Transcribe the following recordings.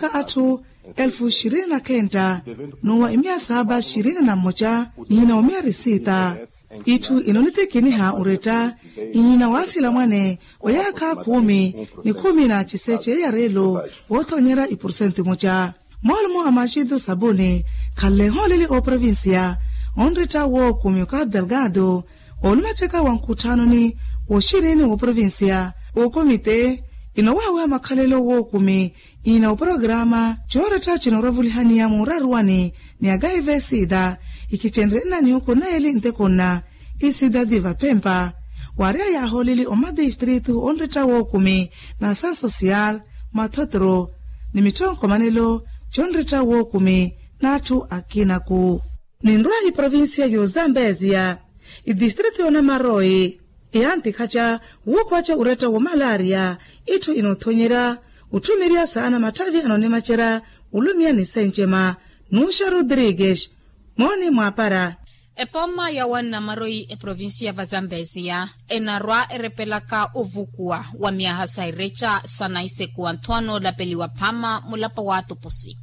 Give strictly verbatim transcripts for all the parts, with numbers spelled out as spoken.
ka atthu elfu xirini na khenta n'uwa imiya saaba xirini na mmoca n'ihina wa miya risita. Itthu ino nitikiniha oretta n'ihina wa asilamwane wa yaakha khumi ni khumi na ciseche ya reelo woothonyerya iporosento imoca. Moolumo a maxitu sabuni khanle ehooleli ooprovincia onretta wookumi okapu delgado oolumaceka wa nkutthanoni wooxirini wooprovincia wookomite ino waaweha makhalelo wookumi ina oporograma cooretta cinoravulihaniya muuraruwani ni akaive sida ikicenrye nna nihuku nna eli ntekonna. Isida diva phempa waareya yaahooleli omatistritu onretta wookumi na asansosiyal mathotro ni mitthonkomanelo conretta wookumi n'atthu akinaku. Ninrwa iprovincia y'ozambeziya itistritu y'onamaroi iyantikhaca wuukhwaca uretta womalaria itthu inoothonyerya otthumerya saana matthavi anoonimacerya olumiya ni sencema. Nuxa rodrigues mooni mwaapara. Epooma ya wannamaroyi eprovincia va zambeziya enarwa erepelaka ovukuwa wa myaha sa ireca sa naisekuwa nthu anoolapeliwa phaama mulapa wa atupusi.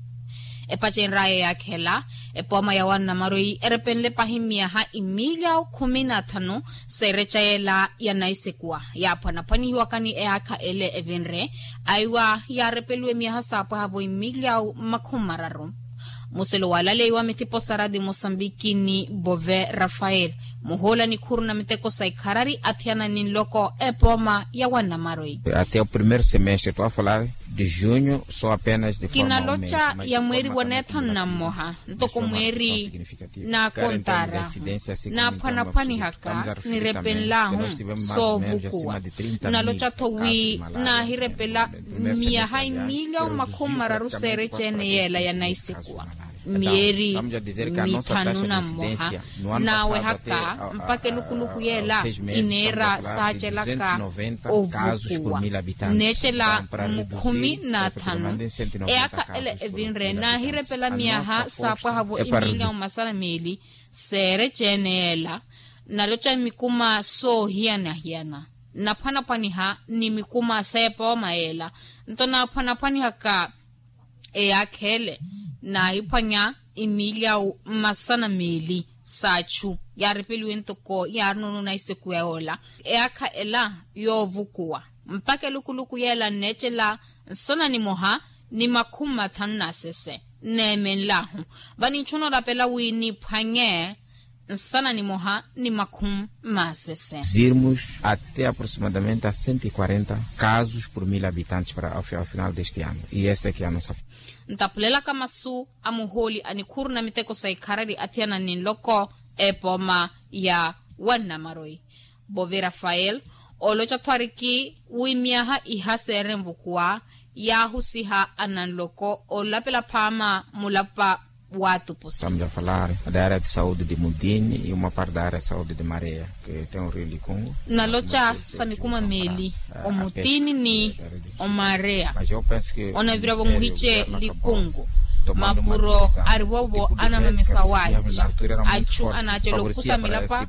Epacenraya yaakhela epooma ya wannamaroyi erepenle pahi myaha imilyawu khumi na thanu sa ireca yeela ya naisekuwa yaaphwanaphwanihiwaka ni eyaakha ele evinre aiwa yaarepeliwe myaha saapwahavo imilyawu makhumi mararu. Muselo walaleiwa mithipo sa radi mosambiki ni bove rafael muhoola nikhuru na miteko sa ikharari athiyana ni nloko epooma ya wannamaroyi. Até o primeiro semestre tu a falar de junho só apenas de forma kinaloca ya mweeri wa neethanu na mmoha ntoko mweeri naakontara naaphwanaphwanihaka nirepenlahu soovukuwa. Naloca-tho wi naahirepela miyaha imilyawu makhumi mararu seereceene yeela ya naisekuwa myeeri mithanu na mmoha naawehaka mpakha elukuluku yeela ineera saacelaka ovukuwa nneecela mukhumi na thanu. Eyaakha ele evinre naahirepela miyaha saapwahavo imilyawu masana meeli seereceene yeela. Naloca mikuma soohiyana-hiyana nnaphwanaphwaniha ni mikuma s'epooma yeela nto naaphwanaphwanihaka eyaakha ele naahiphwanya imilyawu mmasana meeli s'achu yaarepeliwe ntoko yaarina onuuna isekuwa yoola. Eyaakha ela yoovukuwa mpakha elukuluku yeela nneecela nsana nimoha ni makhumi mathanu na sese nneemenlahu vaninchuna olapela wi niphwanye nsana nimoha ni makhumi masese. Irmos até aproximadamente a cento e quarenta casos por mil habitantes para ao final deste ano e essa é que a nossa. Ntaphulelaka masu a muhooli a nikhuru na miteko sa ikharari athiyana ni nloko epooma ya wannamaroyi bove rafael ooloca-tho ariki wi myaha iha seere nvukuwa yaahusiha ananloko oolapela phaama mulapa waatupusi. Estamos a falar da área de saúde de mudini e uma parte da área de saúde de mareia que tem o rio likungu. Naloca sa mikuma meeli omutini ni omareya onavira vomuhice likungu mapuro arivovo anamamesa waaca achu anaacela okhusa milapa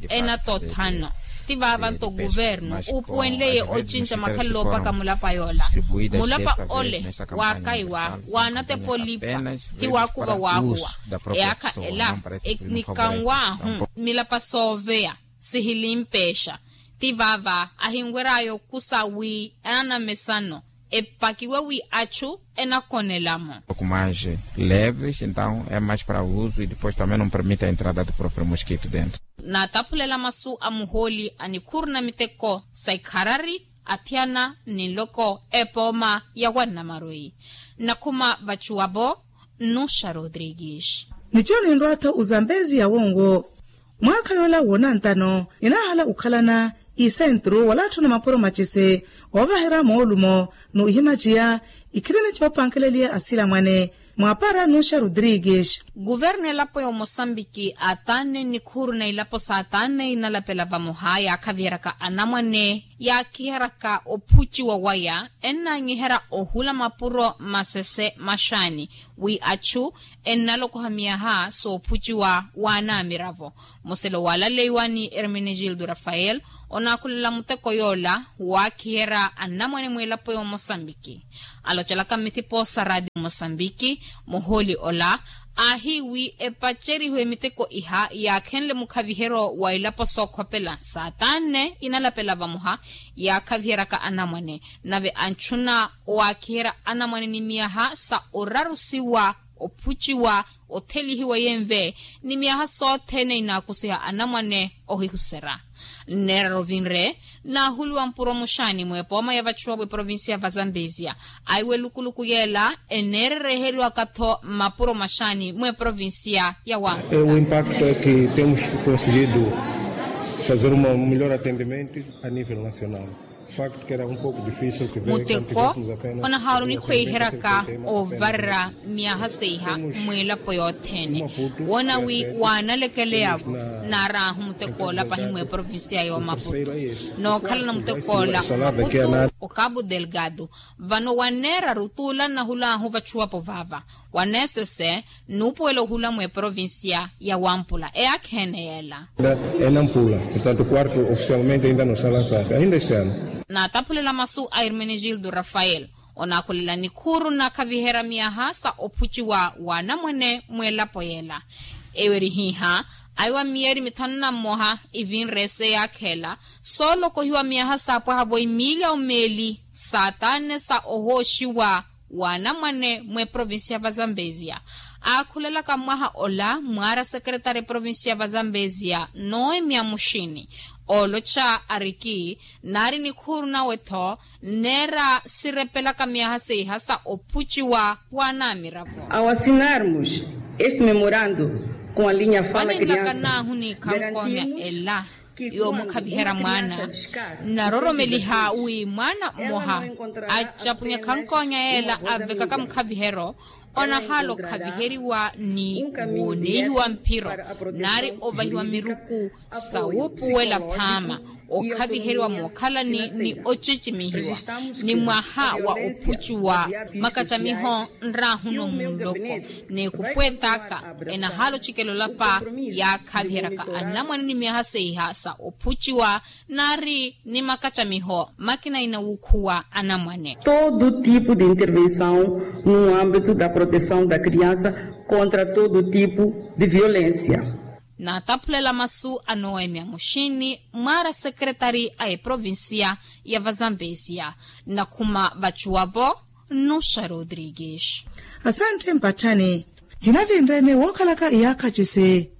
enatothano. Ti vaava nto guvernu uupuwenleye ocinca makhalelo opaka mulapa yoola mulapa ole waakaiwa waanatepa olipa ti waakuva waahuwa. Eyaakha ela nikanwaahu milapa sooveya sihilimpeexa ti vaava ahinwery'aya okusa wi ananamesano epakiwe wi achu enakonelamo. Pouco mais leves então é mais para uso e depois também não permite a entrada do próprio mosquito dentro. Naataphulela masu a muhooli a nikhuru na miteko sa ikharari athiyana ni nloko epooma ya wannamaroyi nnakhuma vachuwavo. Nnuxa rodrigues. Nicho ninrwa-tho ozambezi ya wonwo mwaakha yoola woonantano ninaahala okhalana isentru wala atthu na mapuro macisi oovaherya moolumo n'uhimaciya ikhirini coopankeleliya asilamwane. Mwaapara nnuxa rodrigues. Kuvernu elapo ya omosambiki aataanne nnikhuru na ilapo saataanne inalapela vamoha yaakhaviheryaka anamwane yaakiheryaka ophuciwa waya ennanyiherya ohula mapuro masese maxaani, wi achu ennalokoha miyaha soophuciwa waanamiravo. Muselo waalaleiwa ni hermenegildo rafael, onaakhulela muteko yoola waakiherya annamwane mwilapo y'omosambiki. Alocelaka mmithipo sa radio mosambiki, muhooli ola aahiiwi epacerihiwe miteko iha yaakhenle mukhaviheryo wa ilapo sookhopela saa taanne inalapela vamoha, yaakhaviheryaka anamwane nave anchuna owaakiherya anamwane ni miyaha sa orarusiwa, ophuciwa, othelihiwa yenve ni miyaha sothene inaakusiha anamwane ohihuserya. Nneerara ovinre naahuliwa mpuro muxaani mweepooma ya vachuwa v'eprovincia va zambezia, aiwe lukuluku yeela eneerereheriwaka-tho mmapuro maxaani mweeprovincia ya wampa. O impacto é que temos conseguido fazer um melhor atendimento a nível nacional. Muteko onahaala onikhweiheryaka ovarerya myaha seiha mwilapo yothene. Woona wi waanalekeleya-vo naaraahu muteko ola pahi mweprovincia y'omaputu nookhalana muteko ola maputu, okabu delgado. Vano wanneeraru tuula nnahulahu vachuwapo vaava. Waneesese nnuupuwela ohula mweprovincia ya wampula eyaakheene yeela. Enampula portanto quarto ofisialmente ainda no salansaka ainda este ano. Naataphulela masu a hermenegildo rafael, onaakhulela nikhuuru nnakhaviherya miyaha sa ophuciwa w'anamwene mweelapo yeela. Eyo erihiiha aiwa miyeeri mithanu na mmoha ivinre ese yaakheela soolokohiwa miyaha saapwaha-vo imiliya omeeli saataanne sa ohooxiwa w'anamwane mweprovincia va zambezia. Aakhulelaka mwaha ola mwaara sekeretari eprovincia va zambezia noemia muxini ooloca ariki naari nikhuuru nawe-tho nneera sirepelaka miyaha seiha sa ophuciwa w'anamiravo. Ao assinarmos este memorando com a linha fala criança, naahu ni khankoonya ela yoomukhaviherya mwaana. Nnaroromeliha wi mwaana mmoha acapunya khankoonya yeela avekaka mukhaviheryo onahaala okhaviheriwa ni wooneihiwa mphiro naari ovahiwa miruku sa wuupuwela phaama okhaviheriwa mookhalani ni ocicimihiwa ni mwaha wa ophucuwa makacamiho nraahuno munloko. N'ekupweet'aka enahaala ocikela olapa yaakhaviheryaka anamwane ni miyaha seiha sa ophuciwa naari ni makacamiho makina inawuukhuwa anamwane. Todo tipo de intervenção no âmbito da proteção da criança contra todo tipo de violência. Naataphulela masu a noemia muxini mwaara sekeretari a eprovincia ya vazambesia. Nnakhuma vacuwavo nnuxa rodrigues. Asantte mpatthani. Cinavinre-ene wookhalaka iyaakha cise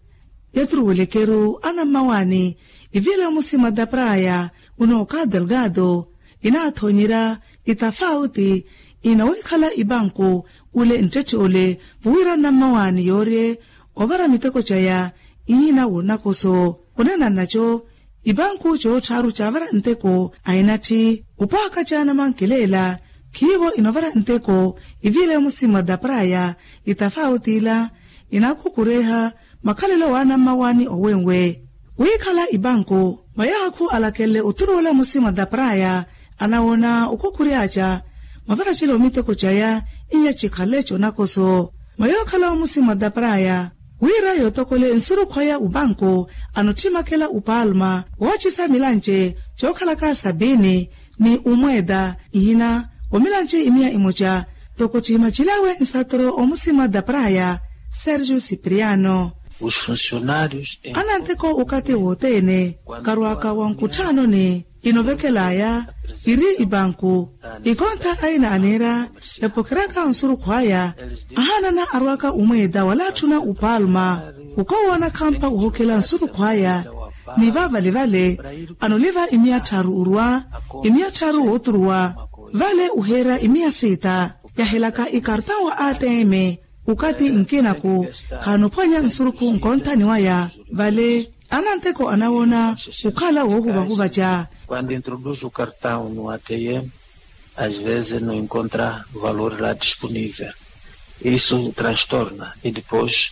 ya turuwelekeru anammawaani iviile omusima da praya unooka delgado inaathonyerya itafauti ina wiikhala ipanku ule nttetthe ole vuwira anammawaani yoorye ovara miteko caya ihiina woonakoso. Oneena nnaco ipanku cootthaaru caavara nteko a enatthi upaaka caana mankileela khiivo inovara nteko iviile omusima da praya itafauti ila inaakukureha makhalelo w'anammawaani owenwe. Wiikhala ipanku mayaakhu alakenle oturuwela musima da praya anawoona okhukhuryaca mavaracelo miteko caya iya cikhale conakoso mayookhala omusima da praya wira yootokole nsurukhwaya upanku anotthimakela upalma woocisa milanci cookhalaka sabini ni umweeta ihina omilanci imiya imoca toko cihimacilawe nsatoro omusima da praya sergio cipriano. Ananteko okati wothene karwaka wa nkutthanoni inovekelaya iri ipanku ikontha aina aneera epokeryaka nsurukhwaya ahaanana arwaka umweeta wala atthuna upalma okowoona khampa ohokela nsurukhwaya ni vavalevale anoliva imiya tthaaru orwa imiya tthaaru wooturuwa vale oheera imiya siita yahelaka ikartão wa atm. Okati nkinaku khaanophwanya nsurukhu nkonthani waya vale ananteko anawoona okhala woohuvahuvaca. Quando introduz o cartão no atm às vezes no encontra valor la disponível isso transtorna e depois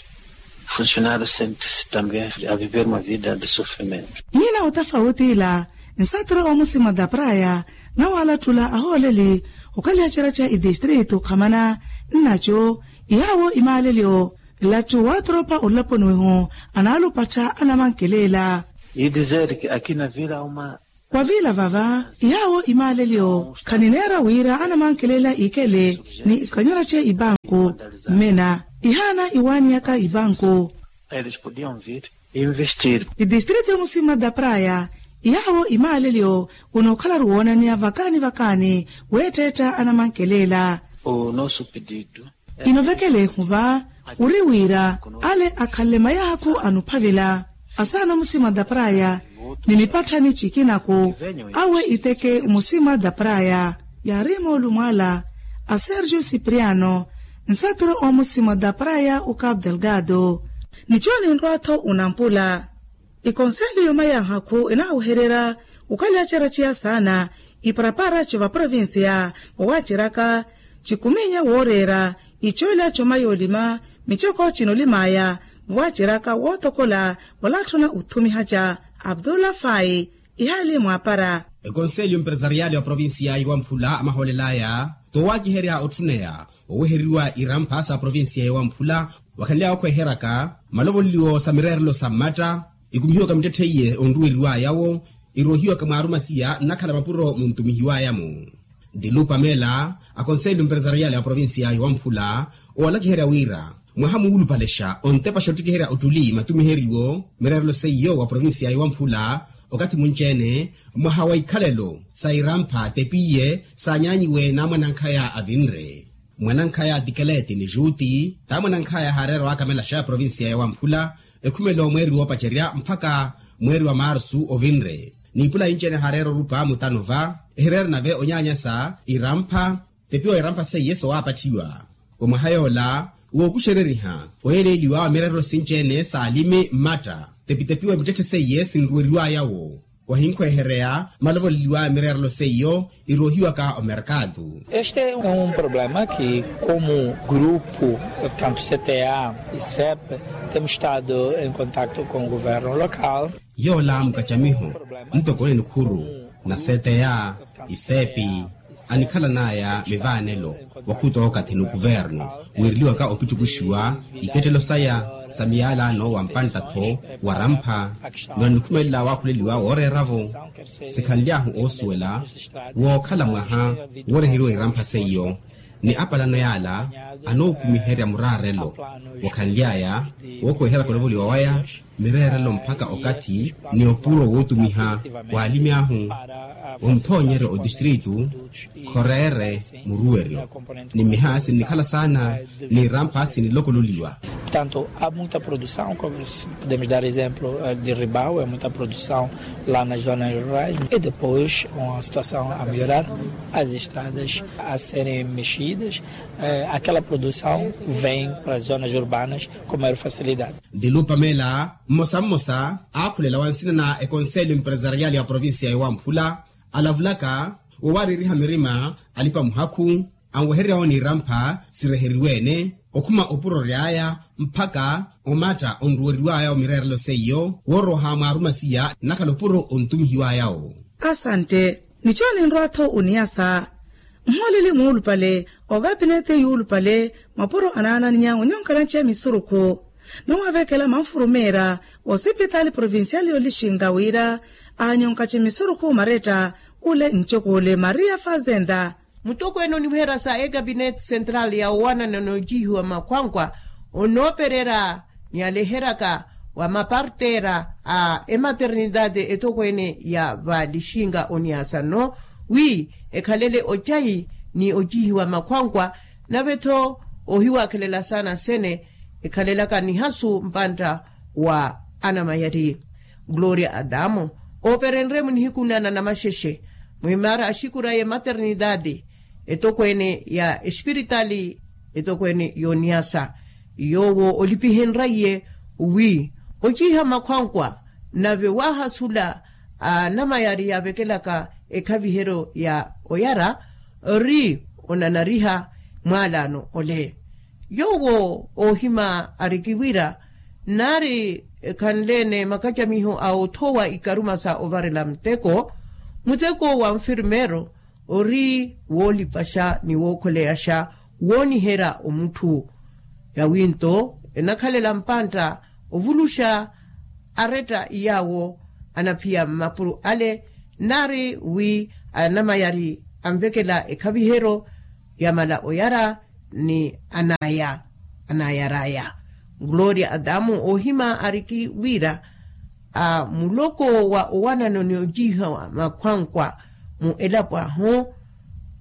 funcionário sente-se também a viver uma vida de sofrimento. Iina otafauti ila Nsatro omusima da praya nawalattula ahooleli okaliha cera ca idistritu khamana nnaco ihaawo imaalelyo. Lattu watropa olaponiweho analupattha anamankelela. Idizerki akina vila uma. Wavila vava ihaawo imaalelyo khanineera wira anamankelela ikele ni kanyora ce ibanku. Mmena ihaana iwaaniyaka ibanku. Eles podiam vir investir. Idistritu yomusima da praya ihaawo imaalelyo. Unokhalaru woonaniya vakaani vakaani weetteetta anamankelela. O nosso pedido. Inovekele ehuva uri wira ale akhalle mayahakhu anuphavila asaana musima da praya ni mipatthani cikinaku awe iteke musima da praya. Yaari moolumwala a sergio cipriano nsatro omusima da praya uka abdelgado. Nico ninrwa-tho unampula. Ikonseli yuma ya hakhu inaawehererya okaliha cera ciya saana iparapara co vaprovincia vowaaceraka cikuminya wooreera icoolya coma yoolima micoko cinolimaya vowaaceraka wootokola walatthuna othumiha ca abdullah fai. Ihaali mwaapara. Ekonseli empresariali wa provincia iwamphula amahoolelaya towaakiherya otthuneya oweheriwa irampha sa provincia ya wamphula wakhanly'awe okhweheraka malovoleliwo sa mireerelo sa mmatta ikumihiwaka mittetthe iye onruweriw'aya-wo iroohiwaka mwaarumasiya nnakhala mapuro muntumihiw'aya-mo. Dilu pamela akonseli empresariali a provincia ya wamphula oolakiherya wira mwaha muulupalexa ontepaxa ottikiherya ottuli matumiheriwo mireerelo seiyo wa provincia ya wamphula okathi munci-ene mwaha wa ikhalelo sa irampha tepiye saanyaanyiwe n'amwanankhaya avinre. Mwanankhaya tikeleti ni juti t'amwanankhaya haareera waakamelaxa provincia ya wamphula ekhumelo mweeri woopacerya mpakha mweeri wa marsu ovinre n'ipula inci-ene haareera orupa mutano va ehireera nave onyaanyasa irampha tepiwa irampha seiye sowaapatthiwa. Omwaha yoola wookuxereriha oyeeleeliwa wa mireerelo sinci-ene saalimi mmatta tepitepiwa mittetthe seiye sinruweriw'aya-wo wahinkhwehereya malovoleliwa mireerelo seiyo iroohiwaka omerkatu. Este é um problema que como grupo tanto cta e cep temos estado em contacto com o governo local. Yoola mukacamiho ntokoni nikhuru na cta isepi anikhalan'aya mivaanelo wakhuta okathi ni okuvernu wiireliwaka opittukuxiwa ikettelo saya sa miyalano wa mpantta-tho wa rampha ni wanikhumelela waakhuleliwa wooreera-vo sikhanly'ahu oosuwela wookhala mwaha wooreheriwa irampha seiyo ni apalano yaala anookumiherya muraarelo wakhanly'aya wookuweherya kolovoliwa waya mireerelo mpakha okathi ni opuro wootumiha waalimi ahu wa muthoonyeryo otistritu khoreere muruweryo ni mmiha sinnikhala saana ni irampha sinilokololiwa. Portanto há muita produção como podemos dar exemplo de ribau é muita produção lá nas zonas rurais e depois com a situação a melhorar as estradas a serem mexidas aquela produção vem para as zonas urbanas com maior facilidade. Dilu pamela mmosa mmosa aakhulela wa nsina na ekonselo empresariali ya provincia ya wamphula alavulaka woowaareriha mirima alipa muhakhu anwehererya-wo ni irampha sireheriwe-ene okhuma opuro ory'aya mpakha omatta onruweriw'aya omireerelo seiyo wooroha mwaarumasiya nnakhala opuro ontumihiw'aya-wo. Asante. Nico ninrwa-tho oniyasa mmooleli muulupale okapinete yuulupale mapuro anaananinya onyonkana nce misurukhu nawavekela manfurumeera osipitaali provinciali olixinga wira anyonkace misurukhu maretta ule ncokole maria fazenda. Mutokweene oniweherya sa ekapinete central ya owanana noojihiwa makhwankwa onoopererya ni aleheryaka wa mapartera a ematernidade etokweene ya valixinga oniyasa nno wi ekhalele ocayi ni ojihiwa makhwankwa nave-tho ohiwakhelela saana sene ekhalelaka nihasu mpantta wa anamayari. Gloria adamo ooperenrye-mo nihiku nana namaxexe mwimaara axikuraye maternidade etokweene ya espiritali etokweene y'oniyasa yoowo olipihenraiye wi ociiha makhwankwa nave waahasula anamayari yaavekelaka ekhaviheryo ya oyara ori onanariha mwaalaano ole. Yoowo oohima ariki wira nnaari khanle-ene makacamiho a othowa ikaruma sa ovarela muteko Muteko wa nfirmeero ori woolipaxa ni wookholeyaxa wooniherya omutthu. Yawi nto enakhalela mpantta ovuluxa aretta iyaawo anaphiya mmapuro ale, nnaari wi anamayari anvekela ekhaviheryo yamala oyara ni anaya anayaraya. Gloria adamu oohima ariki wira a muloko wa owanano ni ojiiha wa makhwankwa mu elapo ahu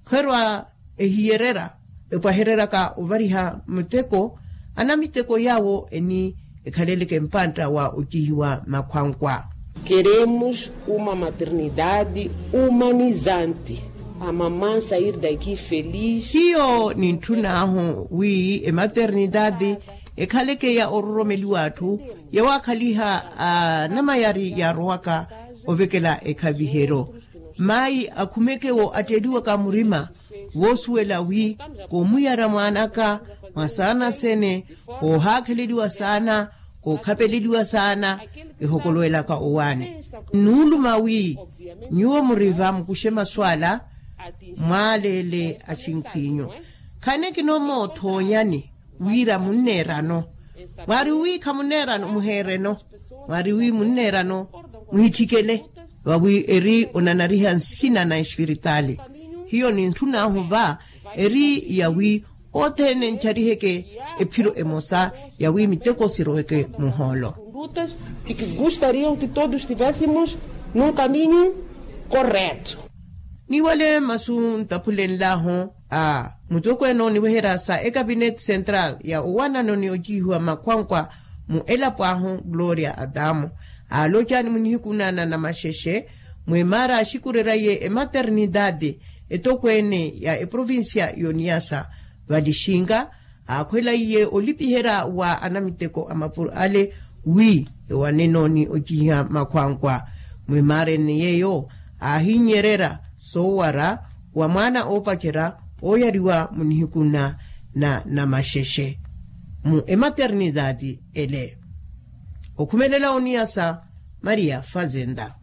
khwerwa ehiyerera epwahereryaka ovariha muteko anamiteko yaawo eni ekhaleleke mpantta wa ojiihiwa makhwankwa. Keremos uma maternidade humanizante. A maman sair daqui feliz. Hiyo nintthun'ahu wi ematernidade ekhaleke ya ororomeliwa atthu yawaakhaliha anamayari yaarowaka ovekela ekhaviheryo. Mayi akhumeke wo atteeliwaka murima voosuwela wi koomuyara mwaan'aka mwa saana sene koohaakheleliwa saana kookhapeleliwa saana ehokolowelaka owaani. Nnuuluma wi nyuwo muri va mukuxe masu ala mwaaleele axinkhw'inyu. Khani kinoomoothonyani wira munneerano mwaari wi khamunneerano muheereno mwaari wi munneerano muhitthikele vawi eri onanariha nsina na espiritaali. Hiyo nintthun'ahu va eri yawi othene nthariheke ephiro emosa yawi miteko siroweke muhoolo. Gustariam ki todos estivésimos num kaminyu korreto. Niwale masu ntaphulenlahu a mutokweene oniweherya sa ekapineti sentral ya owanano ni ojiihiwa makhwankwa mu elapo ahu gloria adamu aaloca ni munihikunana na maxexe mwimaara axikurerya ye ematernidade etokweene ya eprovincia y'oniyasa valixinka aakhwela iye olipiherya wa anamiteko a mapuro ale wi ewaneno ni ocihiha makhwankwa. Mwimaareni yeeyo aahinnyererya soowara wa mwaana oopacerya ooyariwa mu nihiku nna na namaxexe mu ematernidade ele. Okhumelela oniyasa maria fazenda.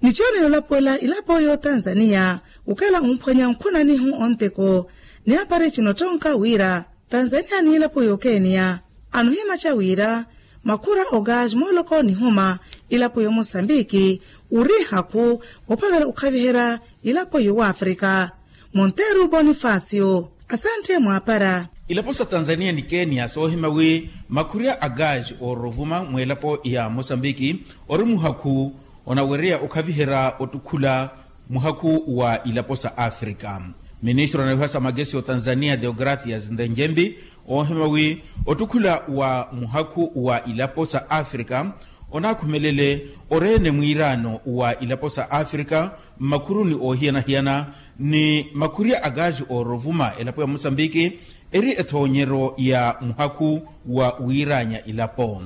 Nichoonela olapuwela ilapo y'otanzaniya okhala omphwanya nkhunanihu onteko ni apari chinottonka wira tanzaniya ni ilapo y'okeniya anohimaca wira makhura ogaji mooloko nihuma ilapo y'omosambiki ori hakhu ophavela okhaviherya ilapo y'owafrika. Monteru bonifacio asantte mwaapara. Ilapo sa tanzaniya ni keniya soohima wi makhurya a gaji oorovuma mw'elapo ya mosambiki ori muhakhu onawereya okhaviherya ottukhula muhakhu wa ilapo sa afrika. Ministro anawiha sa magesi otanzaniya deogracias ndenjembi oohima wi ottukhula wa muhakhu wa ilapo sa afrika onaakhumelele oreene mwiiraano wa ilapo sa afrika mmakhuruni oohiyana-hiyana ni makhurya a gaji oorovuma elapo ya mosambiki eri ethoonyeryo ya muhakhu wa wiiraanya ilapo.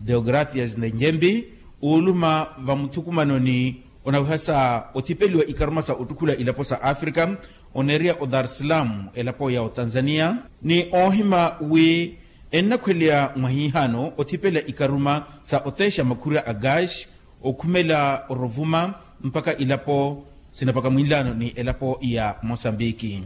Deogracias ndenjembi ooluma vamuthukumanoni onawiha sa othipeliwa ikaruma sa ottukhula ilapo sa afrika oneereya odarsalam elapo ya otanzaniya ni oohima wi ennakhweleya mwahiihano othipela ikaruma sa oteexa makhurya a gaji okhumela orovuma mpakha ilapo sinapakha mwinlaano ni elapo ya mosambiki.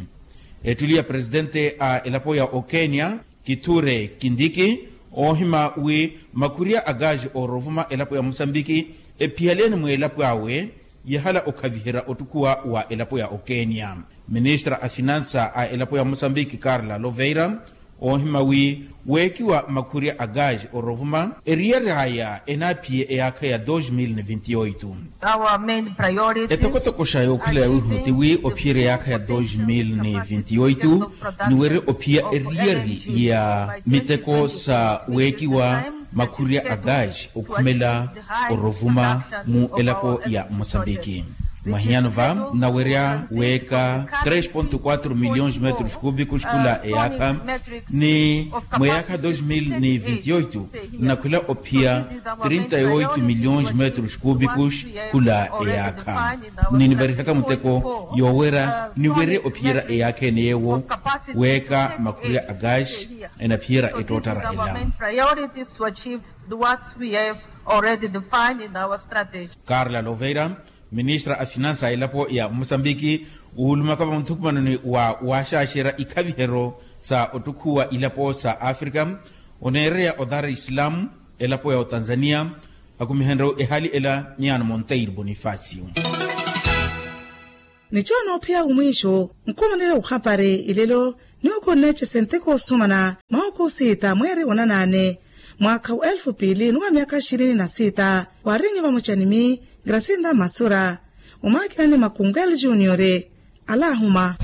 Ettuli ya presitente a elapo ya okenya kithure kindiki oohima wi makhurya a gaji oorovuma elapo ya mosambiki ephiyaleeni mweelapo awe yahala okhaviherya ottukhuwa wa elapo ya okenya. Ministra a finansa a elapo ya mosambiki karla loveira oohima wi weekiwa makhurya a gaji orovuma eriyari aya enaaphiye eyaakha ya dos mil ni vinti oito. Etokotoko xa yookhwela ya wihuno ti wi ophiyerya eyaakha ya dos mil ni vinti oito ni weri ophiya eriyari ya miteko sa weekiwa makhurya a gaji okhumela orovuma mu elapo ya mosambiki. Mwahiyano va nnawerya weeka tres ponto quatro milhões metros cúbicos khula eyaakha ni mweyaakha dos mil ni vinti oito nnakhwela ophiya trinta e oito milhões metros cúbicos khula eyaakha. Ninivarihaka muteko yoowerya niwerye ophiyerya eyaakha ene yeewo weeka makhurya a gaji enaphiyerya ettoottara ela. Karla loveira Ministra a finansa a elapo ya mosambiki, wuulumaka vamuthukumanoni wa waaxaaxerya ikhaviheryo sa ottukhuwa ilapo sa africa, oneereya o dar es salaam, elapo ya otanzania, akumihenrye ehali ela miyaano monteiro bonifacio. Ni coona ophiya wumwiixo, nkhumanela wuhapari ilelo, ni okonneecese nteko osumana mwaha okosiita mweeri wonanaane, mwaakha wa elfu piili ni wa myaakha xirini na siita, waarinye vamoca ni mi grasinda masura, omwaakina ni makungu eli juniore, alaahuma.